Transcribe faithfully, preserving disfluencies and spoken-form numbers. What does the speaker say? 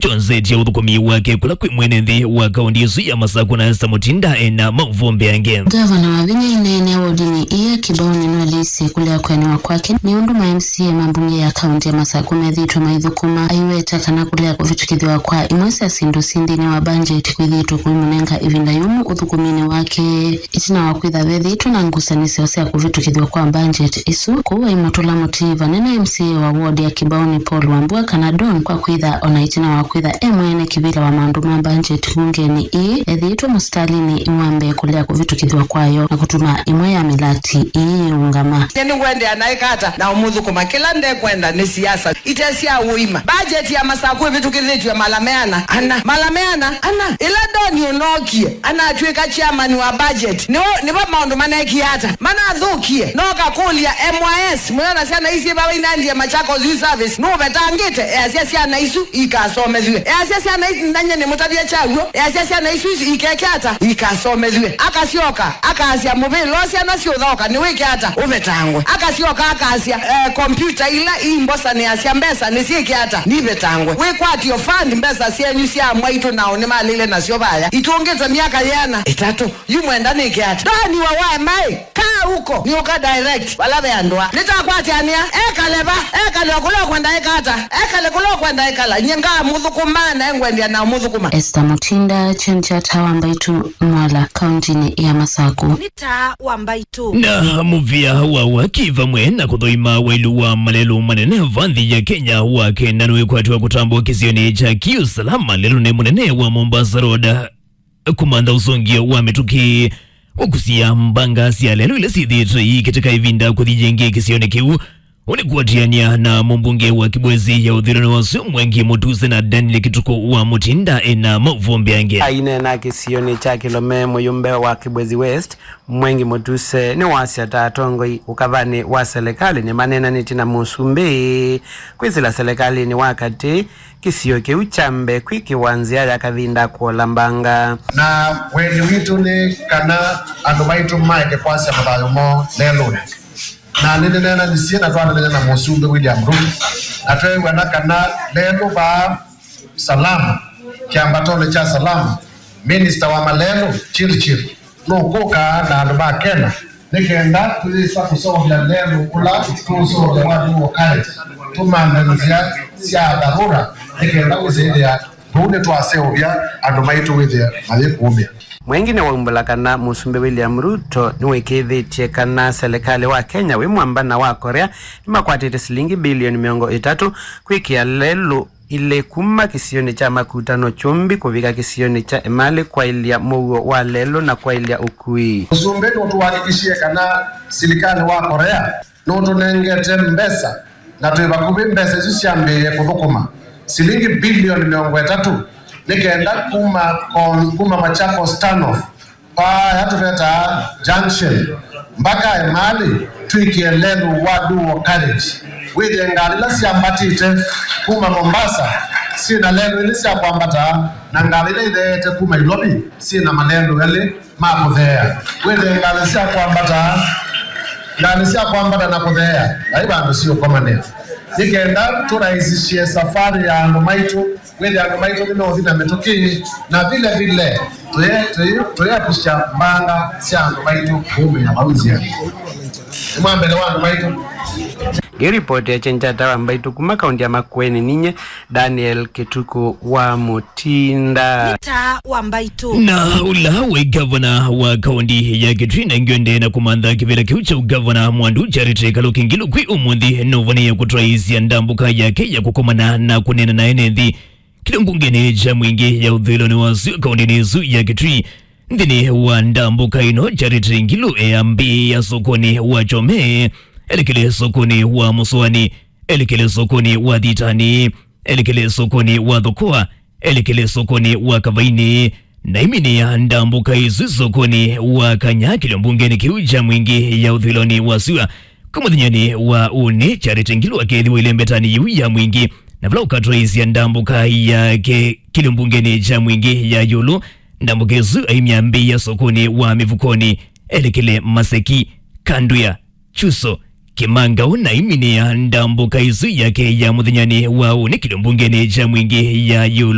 kyonzetye ũthũkũmi wake kũla kwĩ mwene nthĩ wa kaũntĩ ĩsu ya Masakũ na Esther Mutinda ena maũvoo mbeange. Ngavana wa vinya inene wodinĩ ĩĩ ya Kibaoni nũeleisye kũlea kũenewa kwake nĩ ũndũ ma M C A ma mbunge ya kaũntĩ ya Masakũ methĩĩtwe maithũkũma, aiweta kana kũlea kũvĩtũkĩthw'a kwa imwe sya syĩndũ syĩ nthĩnĩ wa mbanjeti kwĩthĩĩtwe kũimũnenga ĩvinda yũmũ ũthũkũminĩ wake. Ĩtina wa kwĩtha vethĩĩtwe na ngusanĩsyo sya kũvĩtũkĩthw'a kwa mbanjeti ĩsu, kũu aimũtũla mũtĩi vanene M C A wa ward ya Kibaoni Paul Wambua kana Don kwa kwĩtha ona ĩtina wa kwĩtha e mwene kĩvĩla wa maũndũ ma mbanjeti mbungenĩ ĩĩ, ethĩĩtwe mũsitalinĩ wa mbee kũlea kũvĩtũkĩthw'a kwayo na kũtuma ĩmwe ya mĩlati ĩĩ yĩũngama. Nye nĩngwendeea na ĩkata na ũmũthũkũma. Kĩla ndekwenda nĩ siasa ite sya ũima. Bajeti ya Masakũ ĩvĩtũkĩthĩtw'e mala meana ana. Mala meana ana. Ĩla Doni ũnookie, anatw'ĩka chairman wa budget, nĩvo, nĩvo maũndũ manekie ata? Manathũkie. Noka kũlya M Y S, mũyona syana isu syĩ vau inandie Machakos Youth Service, nũvetangĩte? Easya syana isu ikasomethw'e. Easya syana isu, nanye nĩmũtavya kyaw'o. Easya syana isu ikeke ata? Ikasomethw'e. Akasyoka, akasya, mũvĩla ũũ syana syũthaũka, nĩwĩke ata? Ũvetangwe. Akasyoka, akasya, eh, kompyuta ila imbosanĩasya mbesa nĩsyĩke ata? Nivetangwe. Wĩkwatyo fund mbesa syenyu sya mwaitũ nao nĩmalĩle nasyo vaya. Itũngĩtwe myaka yĩana? Ĩtatũ. Yu mwenda nĩke ata? Doni wa Y M I, kaa huko, nĩũka direct vala ve andũ a. Nĩtakwatyanĩa, ekale va, ekale o kũla ũkwenda eka ata, ekale kũla ũkwenda ekala, nye ngamũthũkũma na engwendia na ũmũthũkũma. Esther Mutinda, Chenchata wa Mbaitu, Mwala, kauntinĩ ya Masakũ. Nĩ taa wa Mbaitu. Na mũvĩa wa waki vamwe na kũthoima wailu wa malelũ manene va nthĩ ya Kenya wa kenda nĩwĩkwatw'a kũtambwa kĩsionĩ kya Kiusalama lelũnĩ mũnene wa Mombasa Road. Kũmantha ũsũngĩo wa mĩtũkĩ, ũkusia mbanga sya lelũ ila syĩthĩĩtwe iikĩtĩka ĩvinda kũthi yĩngĩ kĩsionĩ kĩu. Ũnĩ kũatĩanĩa na mũmbunge wa Kibwezi ya ũthũĩlonĩ wa ũsu Mwengi Mũtuse na Daniel Kituku wa Mutinda ena maũvoo mbeange. Aineena kĩsionĩ kya Kĩlome, mũyũmbe wa Kibwezi West, Mwengi Mũtuse, nĩwasya ta atongoi ũkavanĩ wa selekalĩ nĩmaneenanĩtye na mũsumbĩ kwĩsĩla selekalĩnĩ wa katĩ kĩsio kĩu kyambe kwĩkĩwa nzĩa ya kavinda kũola mbanga. Na wendi witũ nĩ kana andũ maitũ maeke kwasya mathayũ moo lelũnĩ. Na nĩnĩneenanisye na twaneenany'a na mũsumbĩ William Ruto, na tweew'ana kana lelũ vaa Salama, kĩambatonĩ kya Salama, minista wa malelũ Chirchir nũkũka na andũ ma Kenya nĩ kenda tũyĩsa kũseũvya lelũ ũla tũũseũvya wa Dual Carriage, tũmanthe nzĩa sya dharura nĩ kenda wĩsĩthĩa tũu nĩtwaseũvya andũ maitũ wĩthĩa mayĩkũũmĩa. Mwengi nĩwaumbũla kana Mũsumbĩ William Ruto nĩwĩkĩĩthĩtye kana selekalĩ wa Kenya wĩ mwamba na wa Korea nĩmakwatĩte silingi bilioni mĩongo ĩtatũ kwĩkĩa lelũ ilĩ kuma kĩsionĩ kya Makutano Kyũmbi kũvika kĩsionĩ kya Emali kwaĩlya mũuo wa lelũ na kwaĩlya ũkui. Ũsumbĩ nũtũhakikishie kana silikalĩ wa Korea nũtũnengete mbesa na twĩ vakuvĩ mbesa isu syambĩĩe kũthũkũma silingi bilioni mĩongo ĩtatũ nĩ kenda kuma, kuma Machakos Turnoff vaa ya tũvetaa junction mbaka Emali twĩkĩe lelũ wa Dual Carriage. Wĩthĩe ngalĩ ila syambatĩte kuma Mombasa syĩ na lelũ ilĩ sya kwambata, na ngalĩ ila itheete kuma Nairobi syĩ na malelũ elĩ ma kũtheea. Wĩthĩe ngalĩ sya kwambata, ngalĩ sya kwambata na kũtheea, vai vandũ siũkomanĩa. Nĩ kenda tũraisisye safari ya andũ maitũ, wĩthĩa andũ maitũ nĩmeũthi na mĩtũkĩ, na vile vile tũye-, tũye-, tũyekusya mbanga sya andũ maitũ kũũmĩa vau nzĩanĩ. Nĩ mwambele wa andũ maitũ. Ngĩripoti ya Chenchata wa Mbaitu kuma kaunti ya Makueni, ninye Daniel Kituku wa Mutinda. Nĩ taa wa Mbaitu. Na ũla wĩ gavana wa kaunti ya Kitui Nengio Ndee na kũmantha kĩvĩla kĩu kya ũgavana Mwandu Charity Kaluki Ngilu kwĩ ũmũnthĩ nũvonĩe kũtwaĩĩsya ndambũka yake ya kũkomana na kũneena na ene nthĩ kĩlĩ mbungenĩ kya Mwingĩ ya ũthũĩlonĩ wa Sua kauntinĩ ĩsu ya Kitui. Nthĩnĩ wa ndambũka ĩno, Charity Ngilu eambĩĩa sokonĩ wa Kyome, elekele sokonĩ wa Mũsoani, elekele sokonĩ wa Thitani, elekele sokonĩ wa Thokoa, elekele sokonĩ wa Kavaini, na aiminĩa ndambũka ĩsu sokonĩ wa Kanya kĩlĩ mbungenĩ kĩu kya Mwingĩ ya ũthũĩlonĩ wa Sua. Kuma mũthenyanĩ wa ũnĩ, Charity Ngilu akeethĩwa ĩlembetanĩ yĩu ya Mwingĩ, na vala ũkatwaĩĩsya ndambũka yake kĩlĩ mbungenĩ kya Mwingĩ ya ĩũlũ. Ndambũka ĩsu aimyambĩĩa sokonĩ wa Mĩvukonĩ, elekele Maseki, Kandwia, Chuso, Kimangau na aiminĩa ndambũka ĩsu yake ya mũthenyanĩ wa ũnĩkĩlyo mbungenĩ ya Mwingi ya ĩũlũ.